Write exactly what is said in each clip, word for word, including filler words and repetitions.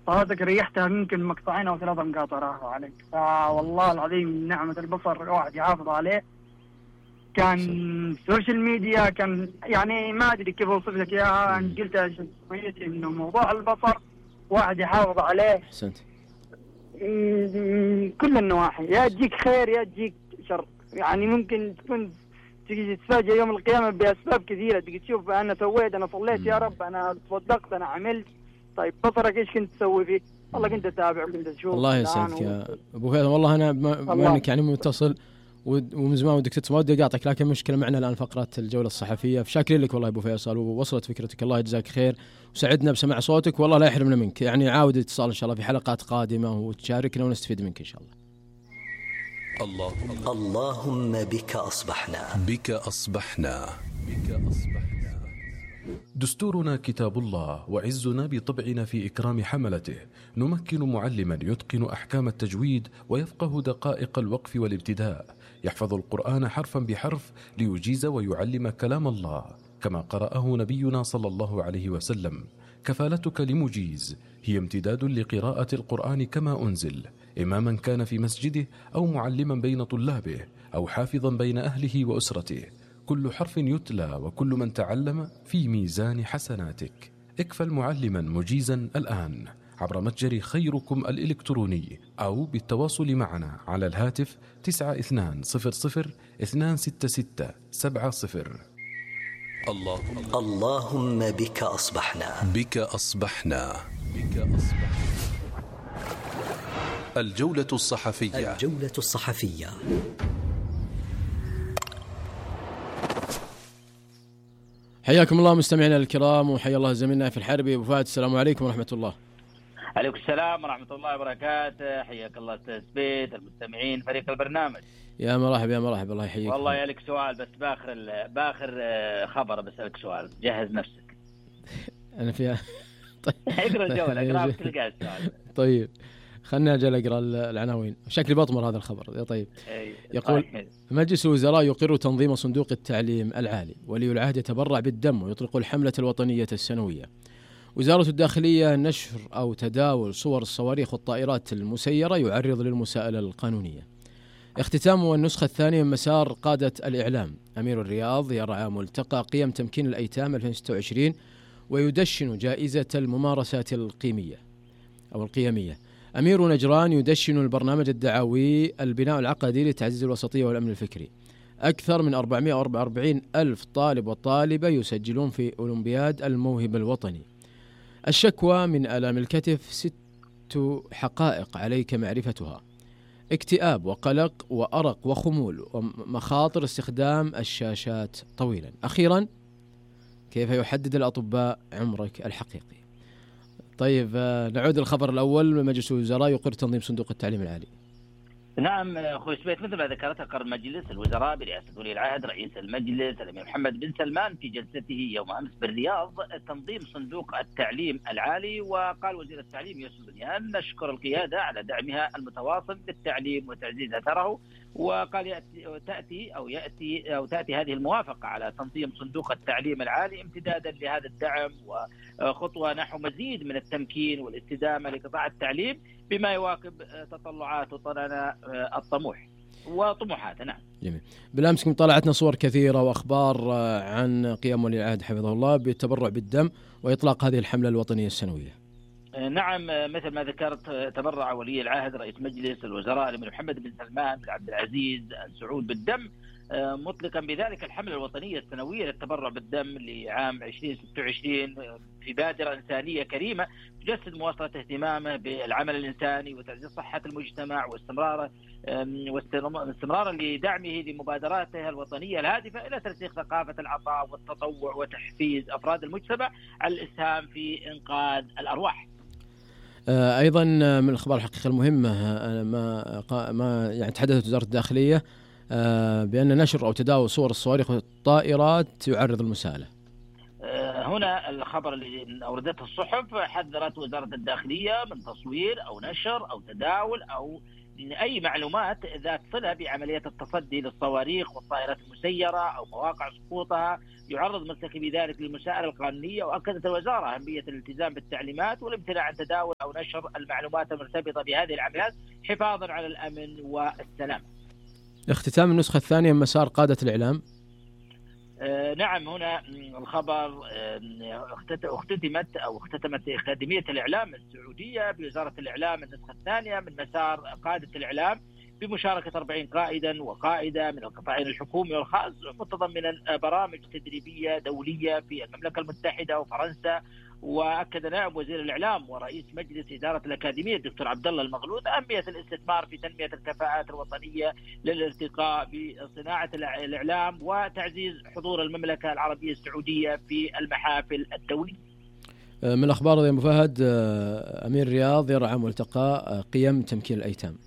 صلاتك ريحتها يمكن مقطعين أو ثلاثة مقاطع راحوا عليك. فوالله العظيم نعمة البصر واحد يحافظ عليه. كان السوشيال ميديا كان يعني ما أدري كيف أوصف لك إياها، أنا قلتها شوية إنه موضوع البصر واحد يحافظ عليه. أحسنت. كل النواحي، يا تجيك خير يا تجيك شر. يعني ممكن تكون تيجي تتفاجئ يوم القيامة بأسباب كثيرة، تيجي تشوف أنا سويت، أنا صليت يا رب، أنا تصدقت، أنا عملت. طيب بصرك إيش كنت تسوي فيه؟ والله كنت أتابع وكنت أشوف. الله يسعدك يا أبو فهد. والله أنا بما أنك يعني متصل ومن زمان ودك تسمع ودي أقاطعك، لكن مشكلة معنا الآن فقرة الجولة الصحفية. فشاكرين لك والله أبو فيصل، ووصلت فكرتك، الله يجزاك خير وسعدنا بسماع صوتك، والله لا يحرمنا منك. يعني عاود اتصال إن شاء الله في حلقات قادمة وتشاركنا ونستفيد منك إن شاء الله. الله اللهم بك أصبحنا بك أصبحنا بك أصبحنا. دستورنا كتاب الله، وعزنا بطبعنا في إكرام حملته. نمكن معلما يتقن أحكام التجويد ويفقه دقائق الوقف والابتداء، يحفظ القرآن حرفا بحرف ليجيز ويعلم كلام الله كما قرأه نبينا صلى الله عليه وسلم. كفالتك لمجيز هي امتداد لقراءة القرآن كما أنزل، إماما كان في مسجده أو معلما بين طلابه أو حافظا بين أهله وأسرته. كل حرف يتلى وكل من تعلم في ميزان حسناتك. اكفل معلما مجيزا الآن عبر متجر خيركم الإلكتروني أو بالتواصل معنا على الهاتف تسعة اثنان صفر صفر اثنان ستة ستة سبعة صفر. الله اللهم بك أصبحنا بك أصبحنا بك أصبحنا. الجولة الصحفية الجولة الصحفية. حياكم الله مستمعينا الكرام، وحيا الله زميلنا في الحربي أبو فهد. السلام عليكم ورحمة الله. عليكم السلام ورحمة الله وبركاته. حياك الله أستاذ بيت، المستمعين، فريق البرنامج. يا مرحبا يا مرحبا، الله يحييك. والله يا لك سؤال بس باخر باخر خبر، بسألك سؤال، جهز نفسك. أنا فيها. طيب اقرأ الجولة، اقرأ تلقى السؤال. طيب خلنا أجل أقرأ العناوين، شكلي بطمر هذا الخبر. طيب يقول مجلس الوزراء يقر تنظيم صندوق التعليم العالي، ولي العهد يتبرع بالدم ويطلق الحملة الوطنية السنوية. وزارة الداخلية نشر أو تداول صور الصواريخ والطائرات المسيرة يعرض للمساءلة القانونية. اختتام النسخة الثانية من مسار قادة الإعلام. أمير الرياض يرعى ملتقى قيم تمكين الأيتام ألفين وستة وعشرين ويدشن جائزة الممارسات القيمية أو القيمية. أمير نجران يدشن البرنامج الدعوي البناء العقدي لتعزيز الوسطية والأمن الفكري. أكثر من أربعمائة وأربعة وأربعين ألف طالب وطالبة يسجلون في أولمبياد الموهبة الوطني. الشكوى من آلام الكتف ست حقائق عليك معرفتها. اكتئاب وقلق وأرق وخمول ومخاطر استخدام الشاشات طويلا. أخيرا كيف يحدد الأطباء عمرك الحقيقي. طيب نعود الخبر الأول. مجلس الوزراء يقر تنظيم صندوق التعليم العالي. نعم أخوي سبيت، مثل ما ذكرت قرر مجلس الوزراء برئاسة ولي العهد رئيس المجلس الأمير محمد بن سلمان في جلسته يوم أمس بالرياض تنظيم صندوق التعليم العالي. وقال وزير التعليم يوسف بنيان نشكر القيادة على دعمها المتواصل للتعليم وتعزيز أثره. وقال يأتي تأتي أو يأتي أو تأتي هذه الموافقة على تنظيم صندوق التعليم العالي امتدادا لهذا الدعم وخطوة نحو مزيد من التمكين والاستدامة لقطاع التعليم بما يواكب تطلعات وطننا الطموح وطموحاتنا. جميل. بالأمس طلعتنا صور كثيرة وأخبار عن قيام ولي العهد حفظه الله بالتبرع بالدم وإطلاق هذه الحملة الوطنية السنوية. نعم مثل ما ذكرت تبرع ولي العهد رئيس مجلس الوزراء الأمير محمد بن سلمان بن عبد العزيز آل سعود بالدم، مطلقا بذلك الحملة الوطنية السنوية للتبرع بالدم لعام ألفين وستة وعشرين في بادرة إنسانية كريمة تجسد مواصلة اهتمامه بالعمل الإنساني وتعزيز صحة المجتمع واستمراره واستمرارا لدعمه لمبادراته الوطنية الهادفة إلى ترسيخ ثقافة العطاء والتطوع وتحفيز أفراد المجتمع على الإسهام في إنقاذ الأرواح. أيضا من الأخبار الحقيقة المهمة ما ما يعني تحدثت وزارة الداخلية بأن نشر أو تداول صور الصواريخ والطائرات يعرض المساءلة. هنا الخبر اللي أوردته الصحف، حذرت وزارة الداخلية من تصوير أو نشر أو تداول أو أي معلومات ذات صلة بعملية التصدي للصواريخ والطائرات المسيرة أو مواقع سقوطها يعرض مرتكبي ذلك للمساءلة القانونية. وأكدت الوزارة أهمية الالتزام بالتعليمات والامتناع عن تداول أو نشر المعلومات المرتبطة بهذه العمليات حفاظا على الأمن والسلام. اختتام النسخة الثانية من مسار قادة الإعلام. آه نعم، هنا الخبر آه اختتمت أو اختتمت أكاديمية الإعلام السعودية بوزارة الإعلام النسخة الثانية من مسار قادة الإعلام بمشاركة أربعين قائدا وقائدة من القطاعين الحكومي والخاص، متضمنا برامج تدريبية دولية في المملكة المتحدة وفرنسا. وأكد نائب وزير الإعلام ورئيس مجلس إدارة الأكاديمية الدكتور عبد الله المغلوث أهمية الاستثمار في تنمية الكفاءات الوطنية للارتقاء بصناعة الإعلام وتعزيز حضور المملكة العربية السعودية في المحافل الدولية. من الأخبار يا أبو فهد، أمير الرياض يرعى ملتقى قيم تمكين الأيتام.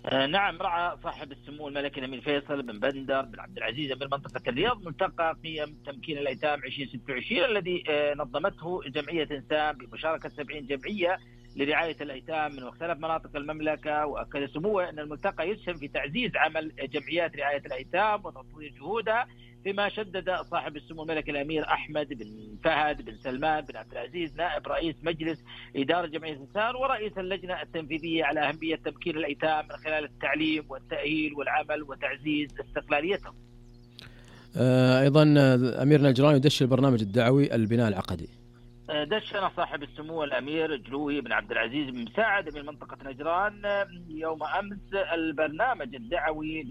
آه نعم، رعى صاحب السمو الملكي الأمير فيصل بن بندر بن عبد العزيز أمير منطقة الرياض ملتقى قيم تمكين الأيتام عشرين ستة وعشرين الذي آه نظمته جمعية إنسان بمشاركة سبعين جمعية لرعاية الأيتام من مختلف مناطق المملكة. وأكد سموه أن الملتقى يسهم في تعزيز عمل جمعيات رعاية الأيتام وتطوير جهودها، فيما شدد صاحب السمو الملكي الأمير أحمد بن فهد بن سلمان بن عبد العزيز نائب رئيس مجلس إدارة جمعية الإنسان ورئيس اللجنة التنفيذية على أهمية تمكين الأيتام من خلال التعليم والتأهيل والعمل وتعزيز استقلاليتهم. أيضا أمير نجران يدش البرنامج الدعوي البناء العقدي. دشن صاحب السمو الأمير جلوي بن عبد العزيز بن مساعد من منطقة نجران يوم أمس البرنامج الدعوي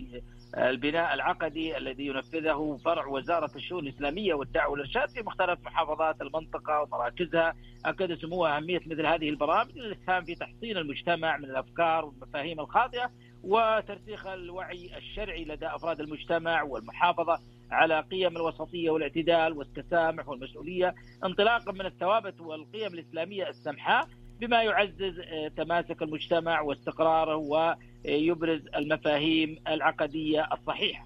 البناء العقدي الذي ينفذه فرع وزارة الشؤون الإسلامية والدعوة والإرشاد في مختلف محافظات المنطقة ومراكزها. أكد سموه أهمية مثل هذه البرامج للإسهام في تحصين المجتمع من الأفكار والمفاهيم الخاطئة وترسيخ الوعي الشرعي لدى أفراد المجتمع والمحافظة على قيم الوسطية والاعتدال والتسامح والمسؤولية انطلاقا من الثوابت والقيم الإسلامية السمحاء، بما يعزز تماسك المجتمع واستقراره ويبرز المفاهيم العقدية الصحيحة.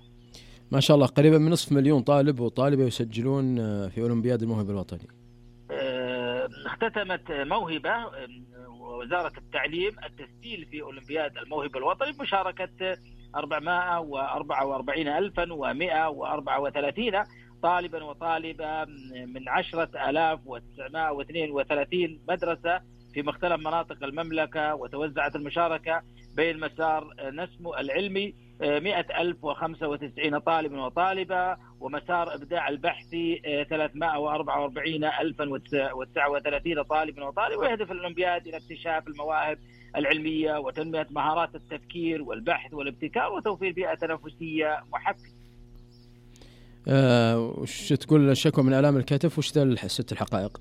ما شاء الله، قريبا من نصف مليون طالب وطالبة يسجلون في أولمبياد الموهبة الوطني. اختتمت موهبة وزارة التعليم التسجيل في أولمبياد الموهبة الوطني بمشاركة أربعمائة وأربعة وأربعين ألفا ومائة وأربعة وثلاثين طالبا وطالبة من عشرة آلاف وتسعمائة واثنين وثلاثين مدرسة في مختلف مناطق المملكة. وتوزعت المشاركة بين مسار نسمو العلمي مئة ألف وخمسة وتسعين طالبا وطالبة ومسار إبداع البحثي ثلاثمائة وأربعة وأربعين ألفا وتسعة وثلاثين طالبا وطالبة. ويهدف الأولمبياد إلى اكتشاف المواهب العلمية وتنمية مهارات التفكير والبحث والابتكار وتوفير بيئة تنافسية محفزة. أه وش تقول الشكوى من آلام الكتف وش ست الحقائق؟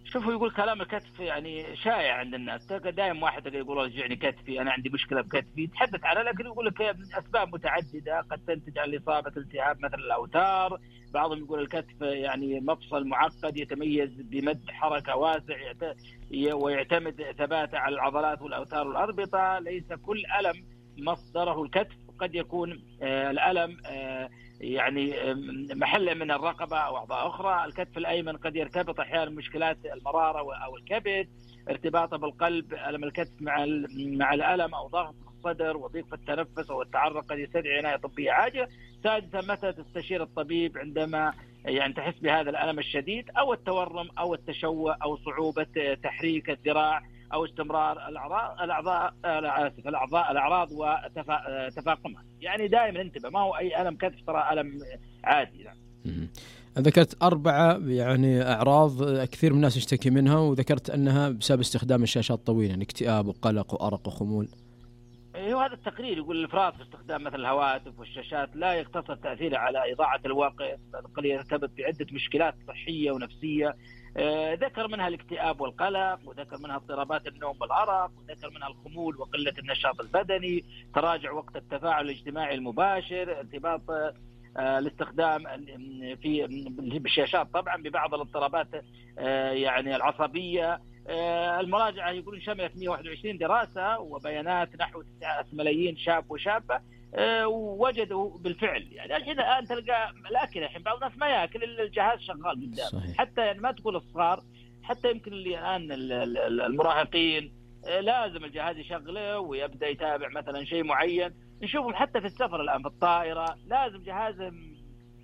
شوفوا، يقول كلام الكتف يعني شائع عند الناس، دائما واحد يقول رجعني كتفي، أنا عندي مشكلة بكتفي، يتحدث عنها لكن يقول لك أسباب متعددة قد تنتج عن الإصابة التهاب مثل الأوتار. بعضهم يقول الكتف يعني مفصل معقد يتميز بمد حركة واسع ويعتمد ثباته على العضلات والأوتار والأربطة. ليس كل ألم مصدره الكتف، قد يكون الألم يعني محل من الرقبة أو أعضاء أخرى. الكتف الأيمن قد يرتبط أحيانا مشكلات المرارة أو الكبد، ارتباطه بالقلب. ألم الكتف مع مع الألم أو ضغط الصدر وضيق في التنفس أو التعرق قد يستدعي عناية طبية عاجلة. سادسا، متى تستشير الطبيب عندما يعني تحس بهذا الألم الشديد أو التورم أو التشوه أو صعوبة تحريك الذراع أو استمرار الأعضاء الأعضاء آسف الأعضاء الأعراض وتفاقمها. يعني دائما انتبه، ما هو أي ألم كتف ترى ألم عادي. يعني. ذكرت أربعة يعني أعراض كثير من الناس يشتكي منها، وذكرت أنها بسبب استخدام الشاشات الطويلة، يعني اكتئاب وقلق وأرق وخمول. ايوه، هذا التقرير يقول الافراط في استخدام مثل الهواتف والشاشات لا يقتصر تاثيره على اضاعه الوقت، بل يرتبط بعده مشكلات صحيه ونفسيه. آه ذكر منها الاكتئاب والقلق، وذكر منها اضطرابات النوم والارق، وذكر منها الخمول وقله النشاط البدني، تراجع وقت التفاعل الاجتماعي المباشر، ارتباط آه الاستخدام في بالشاشات طبعا ببعض الاضطرابات آه يعني العصبيه. آه المراجعة يقولون شملت مئة وواحد وعشرين دراسة وبيانات نحو تسعة ملايين شاب وشابة ووجدوا بالفعل. يعني الحين الآن تلقى الأكل الحين بعض الناس ما يأكل إلا الجهاز شغال قدام، حتى يعني ما تقول الصغار، حتى يمكن اللي الآن المراهقين لازم الجهاز يشغله ويبدأ يتابع مثلا شيء معين. نشوفهم حتى في السفر الآن في الطائرة لازم جهاز،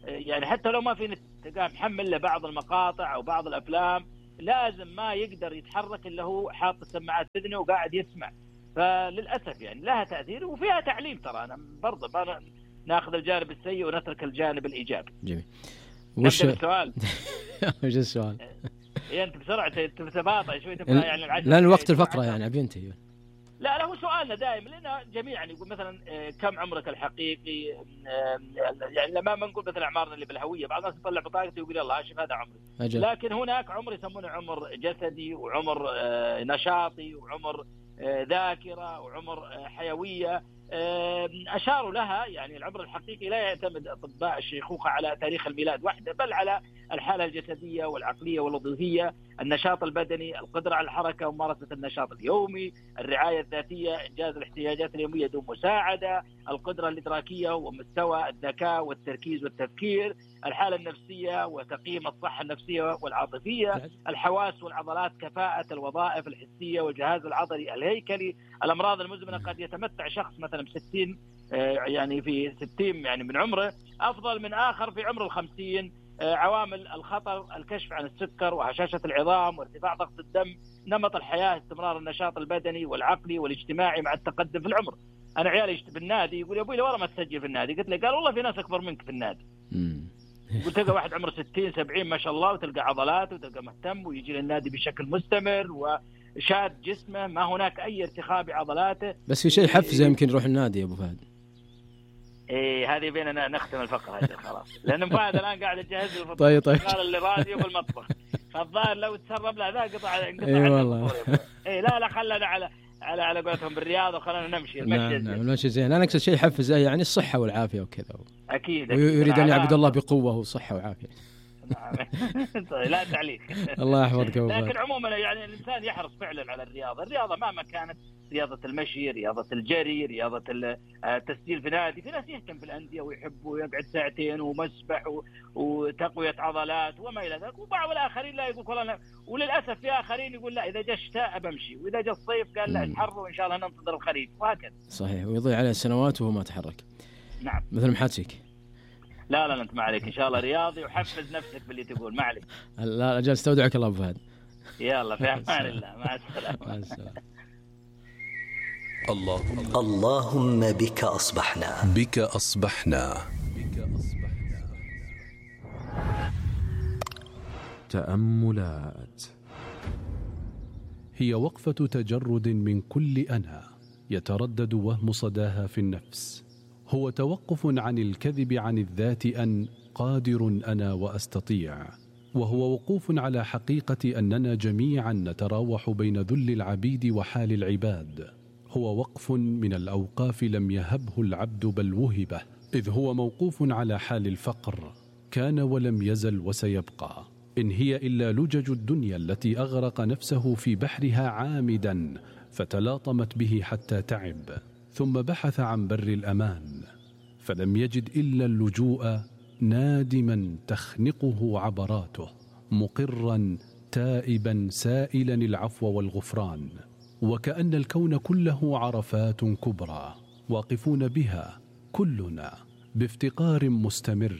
يعني حتى لو ما في نت تلقاه محمل له بعض المقاطع أو بعض الأفلام، لازم ما يقدر يتحرك إلا هو حاط السماعات في أذنه وقاعد يسمع. فللأسف يعني لها تأثير وفيها تعليم. ترى أنا برضه ناخذ الجانب السيء ونترك الجانب الإيجابي. جميل. وش السؤال؟ وش السؤال؟ يعني أنت بسرعة تتباطأ شوي تبغى يعني العشرة لأن وقت الفقرة يعني أبي أنتهي. لا لا هو سؤالنا دائما لنا جميعا يقول مثلا كم عمرك الحقيقي، يعني لما ما نقول مثلا أعمارنا اللي بالهوية، بعض الناس يطلع بطاقته ويقول يلا شوف هذا عمري أجل. لكن هناك عمر يسمونه عمر جسدي وعمر نشاطي وعمر ذاكرة وعمر حيوية أشاروا لها. يعني العمر الحقيقي لا يعتمد أطباء الشيخوخة على تاريخ الميلاد وحده، بل على الحالة الجسدية والعقلية والوظيفية، النشاط البدني، القدرة على الحركة وممارسة النشاط اليومي، الرعاية الذاتية، إنجاز الاحتياجات اليومية دون مساعدة، القدرة الإدراكية ومستوى الذكاء والتركيز والتفكير، الحالة النفسية وتقييم الصحة النفسية والعاطفية، الحواس والعضلات، كفاءة الوظائف الحسية والجهاز العضلي الهيكلي. الأمراض المزمنة قد يتمتع شخص مثلا بستين يعني في ستين يعني من عمره أفضل من آخر في عمر الخمسين. عوامل الخطر، الكشف عن السكر وهشاشة العظام وارتفاع ضغط الدم، نمط الحياة، استمرار النشاط البدني والعقلي والاجتماعي مع التقدم في العمر. أنا عيالي في النادي يقول يا أبوي لورا ما تسجل في النادي، قلت له قال والله في ناس أكبر منك في النادي. قلت تلقى واحد عمره ستين سبعين ما شاء الله وتلقى عضلات وتلقى مهتم ويجي للنادي بشكل مستمر وشاد جسمه، ما هناك أي ارتخاء بعضلاته. بس في شيء حفزه يمكن يروح النادي يا أبو فهد. إيه هذه بيننا نختم الفقرة هذه خلاص، لأن فهد الآن قاعد يجهز الفطور. طيب طيب. قال اللي راديو بالمطبخ، فالظاهر لو تسرب له ذا قطع انقطع. إيه والله. إيه لا لا خلنا على على على قولتهم بالرياض وخلنا نمشي. المشي نعم نعم المشي زين. أنا أقصد شيء حفزه يعني الصحة والعافية وكذا. أكيد. ويريد أن يعبد الله بقوة وصحة وعافية. لا تعليق. الله يحفظك. لكن عموما يعني الإنسان يحرص فعلا على الرياضة. الرياضة مهما كانت، رياضة المشي، رياضة الجري، رياضة التسجيل في نادي. في ناس يهتم في الأندية ويحب ويقعد ساعتين ومسبح وتقوية عضلات وما إلى ذلك. وبعض الآخرين لا يقول والله، وللأسف في آخرين يقول لا إذا جاء الشتاء بمشي، وإذا جاء الصيف قال لا الحر وإن شاء الله ننتظر الخريف، وهكذا. صحيح. ويضيع عليه السنوات وهو ما تحرك. نعم. مثل محاتيك. لا لا أنت ما عليك إن شاء الله رياضي وحفز نفسك باللي تقول، ما عليك. لا أجل استودعك الله أبو فهد. يلا في أمان الله، مع السلامة. مع السلامة. اللهم اللهم بك أصبحنا بك أصبحنا بك أصبحنا. تأملات هي وقفة تجرد من كل أنا يتردد وهم صداها في النفس. هو توقف عن الكذب عن الذات أن قادر أنا وأستطيع، وهو وقوف على حقيقة أننا جميعا نتراوح بين ذل العبيد وحال العباد. هو وقف من الأوقاف لم يهبه العبد بل وهبه، إذ هو موقوف على حال الفقر، كان ولم يزل وسيبقى. إن هي إلا لجج الدنيا التي أغرق نفسه في بحرها عامدا، فتلاطمت به حتى تعب، ثم بحث عن بر الأمان فلم يجد إلا اللجوء، نادما تخنقه عبراته، مقرا تائبا سائلا العفو والغفران. وكأن الكون كله عرفات كبرى واقفون بها كلنا بافتقار مستمر،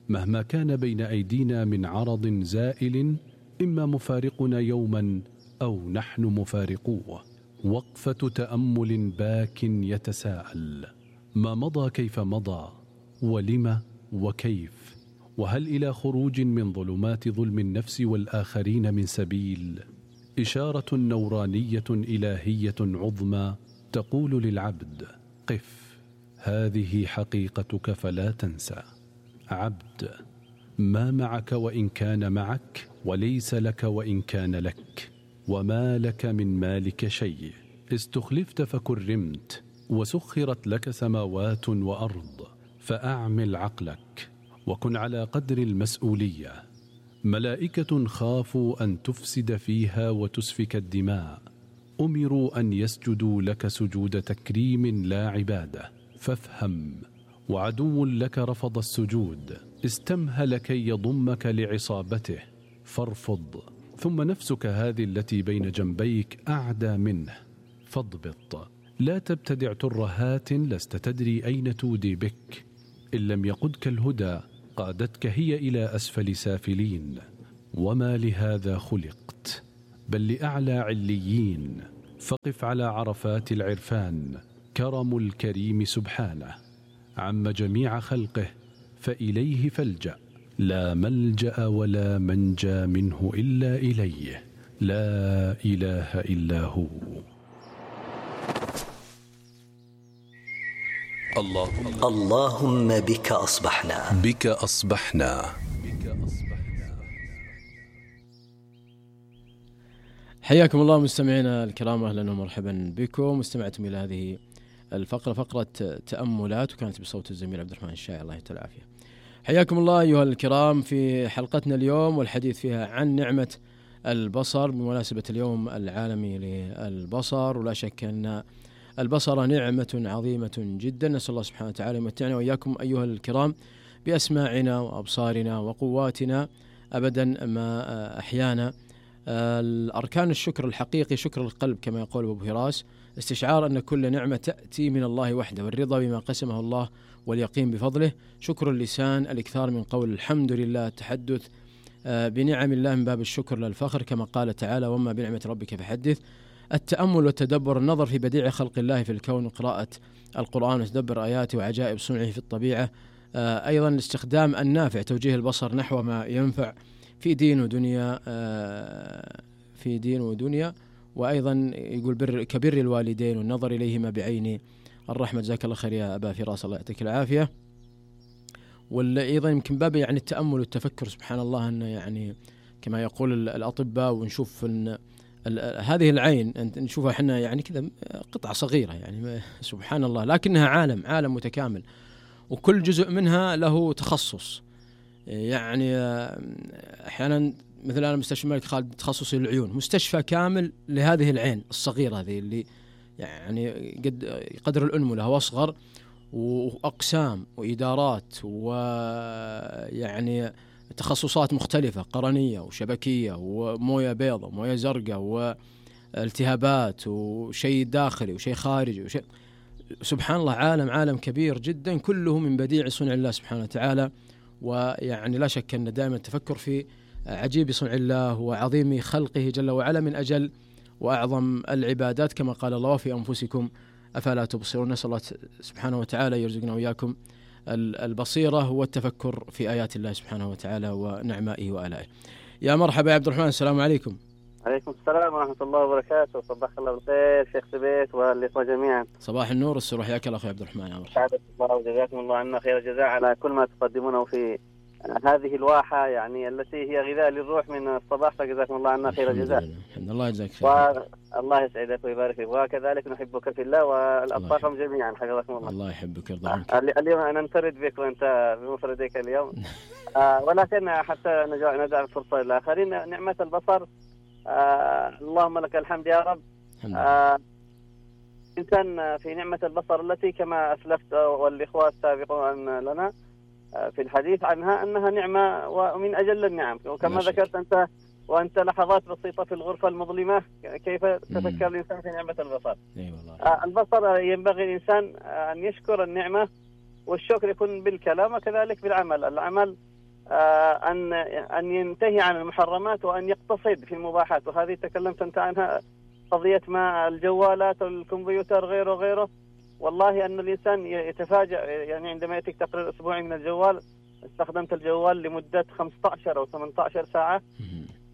مهما كان بين أيدينا من عرض زائل، إما مفارقنا يوما أو نحن مفارقوه. وقفة تأمل باك يتساءل: ما مضى كيف مضى، ولم وكيف، وهل إلى خروج من ظلمات ظلم النفس والآخرين من سبيل؟ إشارة نورانية إلهية عظمى تقول للعبد: قف، هذه حقيقتك فلا تنسى. عبد، ما معك وإن كان معك، وليس لك وإن كان لك، وما لك من مالك شيء. استخلفت فكرمت، وسخرت لك سماوات وأرض، فأعمل عقلك وكن على قدر المسؤولية. ملائكة خافوا أن تفسد فيها وتسفك الدماء، أمروا أن يسجدوا لك سجود تكريم لا عبادة، فافهم. وعدو لك رفض السجود، استمهل كي يضمك لعصابته فارفض. ثم نفسك هذه التي بين جنبيك أعدى منه فاضبط. لا تبتدع ترهات لست تدري أين تودي بك. إن لم يقدك الهدى قادتك هي إلى أسفل سافلين. وما لهذا خلقت بل لأعلى عليين. فقف على عرفات العرفان، كرم الكريم سبحانه عم جميع خلقه فإليه فالجأ. لا ملجأ ولا منجى منه إلا إليه، لا إله إلا هو. اللهم, اللهم بك أصبحنا بك أصبحنا حياكم الله مستمعينا الكرام، أهلا ومرحبا بكم. استمعتم إلى هذه الفقرة، فقرة تأملات، وكانت بصوت الزميل عبد الرحمن الشاعر الله يعطيه العافية. حياكم الله أيها الكرام في حلقتنا اليوم، والحديث فيها عن نعمة البصر بمناسبة اليوم العالمي للبصر. ولا شك أن البصر نعمة عظيمة جدا، نسأل الله سبحانه وتعالى يمتعنا وإياكم أيها الكرام بأسماعنا وأبصارنا وقواتنا أبدا ما أحيانا. الأركان الشكر الحقيقي شكر القلب كما يقول أبو هراس، استشعار أن كل نعمة تأتي من الله وحده، والرضا بما قسمه الله واليقين بفضله. شكر اللسان الإكثار من قول الحمد لله، التحدث بنعم الله من باب الشكر للفخر كما قال تعالى وما بنعمة ربك فحدث. التأمل والتدبر، النظر في بديع خلق الله في الكون وقراءة القرآن وتدبر آياته وعجائب صنعه في الطبيعة. أيضا الاستخدام النافع، توجيه البصر نحو ما ينفع في دين ودنيا في دين ودنيا وأيضا يقول بر كبر الوالدين والنظر إليهما بعين الرحمة. جزاك الله خير يا أبا فراس، الله يعطيك العافية. وأيضا يمكن باب يعني التأمل والتفكر، سبحان الله أنه يعني كما يقول الأطباء، ونشوف أن هذه العين نشوفها احنا يعني كذا قطعة صغيرة يعني سبحان الله، لكنها عالم عالم متكامل، وكل جزء منها له تخصص. يعني احيانا مثلا مستشفى الملك خالد تخصصي العيون، مستشفى كامل لهذه العين الصغيرة هذه اللي يعني قد قدر الأنملة واصغر، وأقسام وإدارات ويعني تخصصات مختلفة، قرنية وشبكية وموية بيضاء وموية زرقاء والتهابات وشيء داخلي وشيء خارجي وشيء، سبحان الله عالم عالم كبير جدا، كله من بديع صنع الله سبحانه وتعالى. ويعني لا شك أن دائما التفكر في عجيب صنع الله وعظيم خلقه جل وعلا من أجل وأعظم العبادات كما قال الله في أنفسكم أفلا تبصرون. نسأل الله سبحانه وتعالى يرزقنا وإياكم البصيرة والتفكر في آيات الله سبحانه وتعالى ونعمائه وآلائه. يا مرحبا يا عبد الرحمن، السلام عليكم. عليكم السلام ورحمة الله وبركاته، صباح الله بالخير شيخ سبيت والإخوة جميعا. صباح النور والسرور، حياك الله أخي عبد الرحمن. يا مرحبا. سعادة الله وجزاكم الله عنا خير الجزاء على كل ما تقدمونه في هذه الواحة يعني التي هي غذاء للروح من الصباح، فجزاكم الله عنا خير الجزاء. الحمد لله يجزاك خير. والله يسعدك ويبارك فيك، وكذلك نحبك في الله والأطاقم جميعا حفظكم الله. الله يحبك ويرضى عنك. اليوم أنا ننفرد بك وأنت بمفردك اليوم. آه ولكن حتى ندع الفرصة للآخرين. نعمة البصر، آه اللهم لك الحمد يا رب. آه إنسان في نعمة البصر التي كما أسلفت والإخوة السابقون لنا في الحديث عنها أنها نعمة ومن أجل النعم، وكما ذكرت أنت وأنت لحظات بسيطة في الغرفة المظلمة كيف تفكر الإنسان في نعمة البصر. أي والله. آه البصر ينبغي الإنسان أن يشكر النعمة، والشكر يكون بالكلام وكذلك بالعمل. العمل آه أن أن ينتهي عن المحرمات وأن يقتصد في المباحات، وهذه تكلمت أنت عنها، قضية ما الجوالات والكمبيوتر غيره غيره. والله أن الإنسان يتفاجأ يعني عندما يأتيك تقرير أسبوعي من الجوال، استخدمت الجوال لمدة خمسة عشر أو ثمانية عشر ساعة،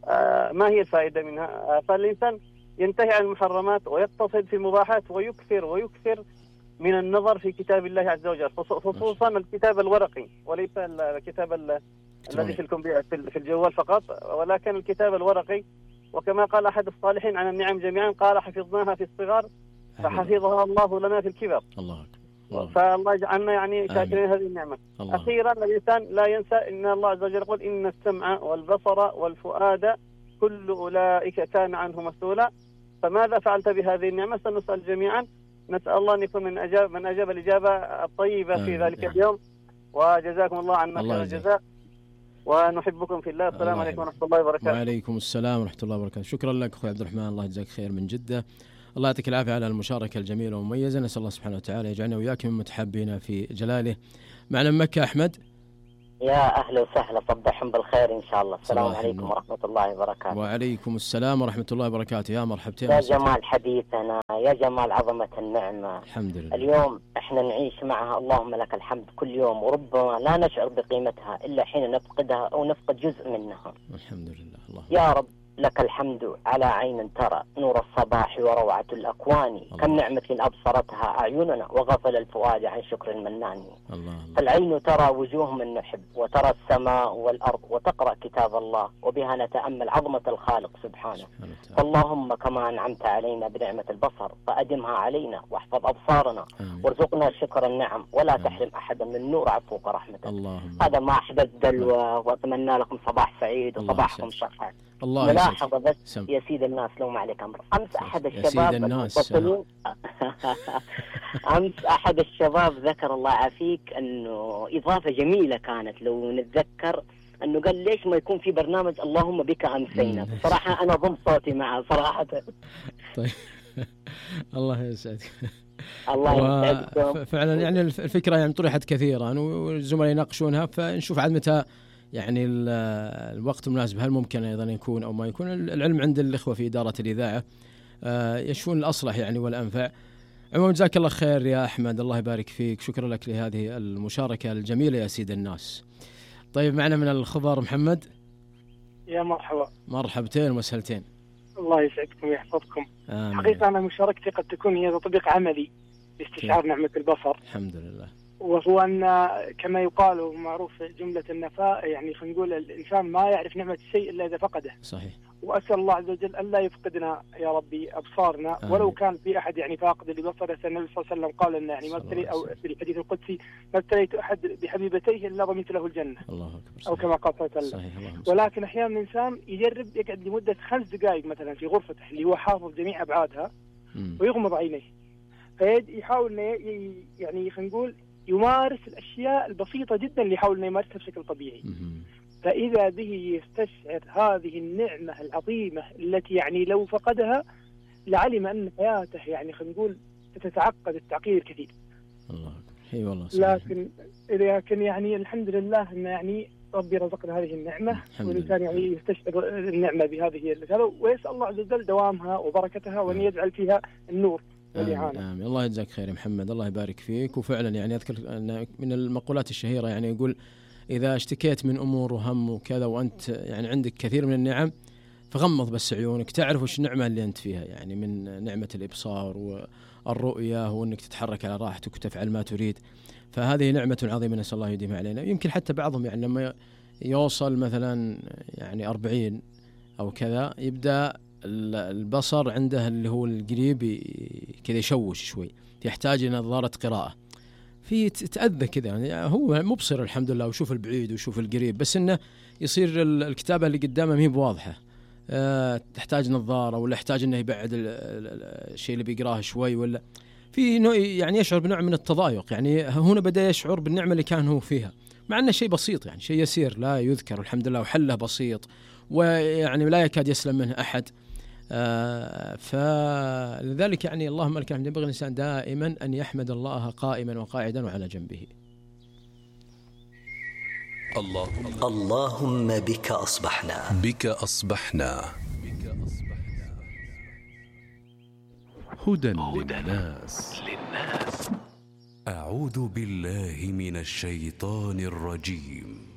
آه ما هي الفائدة منها؟ آه فالإنسان ينتهي عن المحرمات ويقتصد في المباحات ويكثر ويكثر من النظر في كتاب الله عز وجل، خصوصا الكتاب الورقي وليس الكتاب الذي في الكمبيوتر في الجوال فقط، ولكن الكتاب الورقي. وكما قال أحد الصالحين عن النعم جميعا قال حفظناها في الصغر فحفظها الله لنا في الكبر. الله أكبر. فالله يجعلنا يعني شاكرين هذه النعمة. الله. أخيرا الإنسان لا ينسى إن الله عز وجل يقول إن السمع والبصر والفؤاد كل أولئك كان عنه مسؤولا. فماذا فعلت بهذه النعمة؟ سنسأل جميعا. نسأل الله أن يكون من أجاب من أجاب الإجابة الطيبة في ذلك اليوم. وجزاكم الله عنا خير الجزاء ونحبكم في الله. السلام عليكم ورحمة الله وبركاته. وعليكم السلام ورحمة الله وبركاته. شكرا لك أخوي عبد الرحمن، الله يجزاك خير من جدة. الله يعطيك العافية على المشاركة الجميلة والمميزة. نسأل الله سبحانه وتعالى يجعلنا وياك من متحابين في جلاله. معنا من مكة أحمد. يا أهلا وسهلا، صبحهم بالخير إن شاء الله. السلام عليكم ورحمة الله وبركاته. وعليكم السلام ورحمة الله وبركاته. يا مرحبتين. يا جمال حديثنا، يا جمال عظمة النعمة. الحمد لله. اليوم احنا نعيش معها، اللهم لك الحمد، كل يوم، وربما لا نشعر بقيمتها إلا حين نفقدها أو نفقد جزء منها. الحمد لله. الله يا رب لك الحمد على عين ترى نور الصباح وروعة الأكوان. كم نعمة أبصرتها أعيننا وغفل الفؤاد عن شكر المنان. الله. فالعين ترى وجوه من نحب، وترى السماء والأرض، وتقرأ كتاب الله، وبها نتأمل عظمة الخالق سبحانه. فاللهم كما أنعمت علينا بنعمة البصر فأدمها علينا، واحفظ أبصارنا، وارزقنا شكر النعم، ولا آمين. تحرم أحدا من نور عفوك ورحمتك. اللهم. هذا ما أحدث دلوة، وأتمنى لكم صباح سعيد وصباحكم صحة. الله ملاحظة بس سم. يا سيد الناس لو ما عليك أمر، أمس أحد الشباب المتصلين أمس أحد الشباب ذكر الله عافيك أنه إضافة جميلة كانت لو نتذكر، أنه قال ليش ما يكون في برنامج اللهم بك أمسينا. صراحة أنا ضم صوتي معه صراحة. طيب الله يسعدك. الله يسعدكم. فعلا يعني الفكرة يعني طرحت كثيرا والزملاء يناقشونها، فنشوف عاد متى يعني الوقت المناسب، هل ممكن أيضا يكون أو ما يكون. العلم عند الإخوة في إدارة الإذاعة يشوفون الأصلح يعني والأنفع. عموما جزاك الله خير يا أحمد، الله يبارك فيك، شكرا لك لهذه المشاركة الجميلة يا سيد الناس. طيب معنا من الخبر محمد. يا مرحبا. مرحبتين ومسهلتين. الله يسعدكم ويحفظكم. حقيقة أنا مشاركتي قد تكون هي تطبيق عملي لاستشعار نعمة البصر. الحمد لله. وهو أن كما يقال معروف جملة النفاء، يعني خلينا نقول الإنسان ما يعرف نعمة الشيء إلا إذا فقده. صحيح. وأسأل الله عز وجل أن لا يفقدنا يا ربي أبصارنا. آمين. ولو كان في أحد يعني فاقد لبصره، النبي صلى الله عليه وسلم قال أن يعني ما ابتلي أو في الحديث القدسي ما ابتليت أحد بحبيبتيه إلا ضمنت له الجنة. الله أكبر. أو كما قال صلى الله عليه وسلم. ولكن أحيانا الإنسان يجرب يقعد لمدة خمس دقائق مثلا في غرفته اللي هو حافظ جميع أبعادها م. ويغمض عينيه، فيحاول يعني خلينا نقول يمارس الأشياء البسيطة جدا اللي يحاول أن يمارسها بشكل طبيعي. فإذا به يستشعر هذه النعمة العظيمة التي يعني لو فقدها لعلم أن حياته يعني خلينا نقول تتعقد التعقيد الكثير. الله اي والله. لكن لكن يعني الحمد لله أن يعني ربي رزقنا هذه النعمة، والإنسان يعني يستشعر النعمة بهذه هذا، ويسأل الله عز وجل دوامها وبركتها وأن يجعل فيها النور. آمين. آمين. الله يجزاك خير يا محمد، الله يبارك فيك. وفعلا يعني أذكر أن من المقولات الشهيرة يعني يقول إذا اشتكيت من أمور وهم وكذا وأنت يعني عندك كثير من النعم فغمض بس عيونك تعرف وش النعمة اللي أنت فيها، يعني من نعمة الإبصار والرؤية وأنك تتحرك على راحتك وتفعل ما تريد. فهذه نعمة عظيمة نسأل الله يديمها علينا. يمكن حتى بعضهم يعني لما يوصل مثلا يعني أربعين أو كذا يبدأ البصر عنده اللي هو القريب كذا يشوش شوي، يحتاج إلى نظارة قراءة، في تأذى كذا يعني هو مبصر الحمد لله ويشوف البعيد ويشوف القريب، بس إنه يصير الكتابة اللي قدامه مهي بواضحة، أه تحتاج نظارة ولا يحتاج إنه يبعد الشيء اللي بيقراه شوي، ولا في نوع يعني يشعر بنوع من التضايق. يعني هنا بدأ يشعر بالنعمة اللي كان هو فيها، مع أنه شيء بسيط يعني شيء يسير لا يذكر الحمد لله، وحله بسيط ويعني لا يكاد يسلم منه أحد. آه فلذلك يعني اللهم لك الحمد، ينبغي الإنسان دائما أن يحمد الله قائما وقاعدا وعلى جنبه. الله اللهم بك أصبحنا بك أصبحنا هدى للناس. أعوذ بالله من الشيطان الرجيم.